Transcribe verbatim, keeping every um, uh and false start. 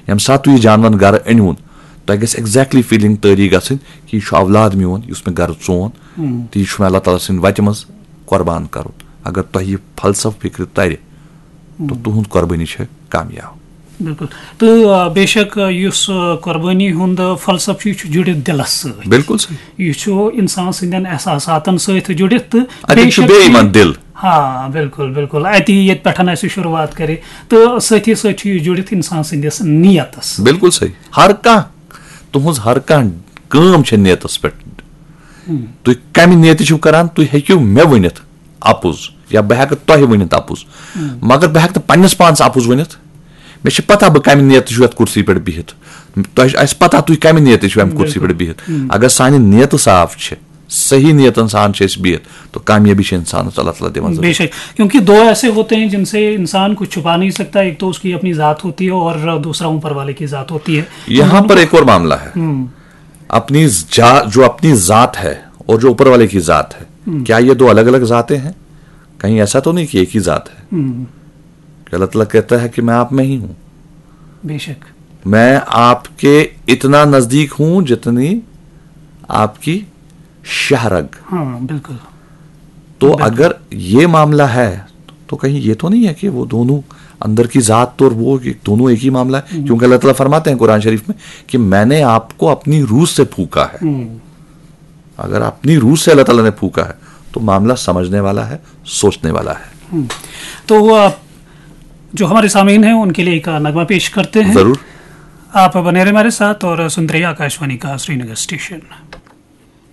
ییٚمہِ ساتہٕ تُہۍ یہِ جانور گرٕ أنِوُن، تۄہہِ گژھِ exactly feeling تٲری گژھٕنۍ کہِ یہِ چھُ اولاد میون یُس مےٚ گرٕ ژون، تہٕ یہِ چھُ مےٚ اللہ تعالیٰ سٕنٛدِ وتہِ منٛز قۄربان کرُن۔ اگر تۄہہِ یہِ فلسفہٕ فکرِ ترِ، تہٕ تُہنٛد قۄربٲنی چھےٚ کامیاب۔ بِلکُل۔ تہٕ آ، بے شک آ، یُس آ، قۄربٲنی ہُنٛد آ، فلسفہٕ چھُ، یہِ چھُ جُڑِتھ دِلس سۭتۍ۔ بِلکُل صحیح۔ یہِ چھُ انسان سٕنٛدٮ۪ن احساساتن سۭتۍ جُڑِتھ تہٕ اتٮ۪ن چھُ بیٚیہِ یِوان دِل۔ ہاں، بِلکُل، بِلکُل۔ اتی ییٚتہِ پٮ۪ٹھ اَسہِ شروٗعات کرِ تہٕ سۭتی سۭتۍ چھُ یہِ جُڑِتھ انسان سٕنٛدِس نیتس۔ بِلکُل صحیح۔ ہر کانٛہہ، تُہنٛز ہر کانٛہہ کٲم چھےٚ نیتس پٮ۪ٹھ۔ تُہۍ کمہِ نیتہِ چھِو کران، تُہۍ ہیٚکِو مےٚ ؤنِتھ اپُز، یا بہٕ ہیٚکہٕ تۄہہِ ؤنِتھ اپُز، مگر بہٕ ہیٚکہٕ نہٕ پننِس پانس اپُز ؤنِتھ۔ مےٚ چھِ پتہ بہٕ کمہِ نیتہِ چھُس یتھ کُرسی پٮ۪ٹھ بِہِتھ۔ تۄہہِ آسہِ پتہ تُہۍ کمہِ نیتہِ چھِو امہِ کُرسی پٮ۪ٹھ بِہِتھ۔ اگر سانہِ نیتہٕ صاف چھِ، صحیح نیتن سان چھِ أسۍ بِہِتھ، تو کامیٲبی چھِ انسانس اللہ تعالیٰ دِوان ضروٗر۔ بے شک، کیونکہ دو ایسے ہوتے ہیں جن سے انسان کچھ چھپا نہیں سکتا، ایک تو اس کی اپنی ذات ہوتی ہے اور دوسرا اوپر والے کی ذات ہوتی ہے۔ یہاں پر ایک اور معاملہ ہے، اپنی جا جو اپنی ذات ہے اور جو اوپر والے کی ذات ہے، کیا یہ دو الگ الگ ذاتیں ہیں؟ کہیں ایسا تو نہیں کہ ایک ہی ذات ہے؟ کہ اللہ تعالیٰ کہتا ہے کہ میں آپ میں ہی ہوں، بے شک۔ میں آپ کے اتنا نزدیک ہوں جتنی آپ کی شاہ رگ۔ ہاں، بِلکُل۔ تو اگر یہ معاملہ ہے تو کہیں یہ تو نہیں ہے کہ وہ دونوں اندر کی ذات تو اور وہ کہ دونوں ایک ہی معاملہ ہے؟ کیونکہ اللہ تعالیٰ فرماتے ہیں قرآن شریف میں کہ میں نے آپ کو اپنی روح سے پھونکا ہے۔ اگر اپنی روح سے اللہ تعالیٰ نے پھونکا ہے تو معاملہ سمجھنے والا ہے، سوچنے والا ہے۔ تو وہ آپ جو ہمارے سامعین ہیں ان کے لیے ایک نغمہ پیش کرتے ہیں۔ ضرور۔ آپ بنے رہے ہمارے ساتھ اور سنتے رہیے آکاشوانی کا سرینگر اسٹیشن۔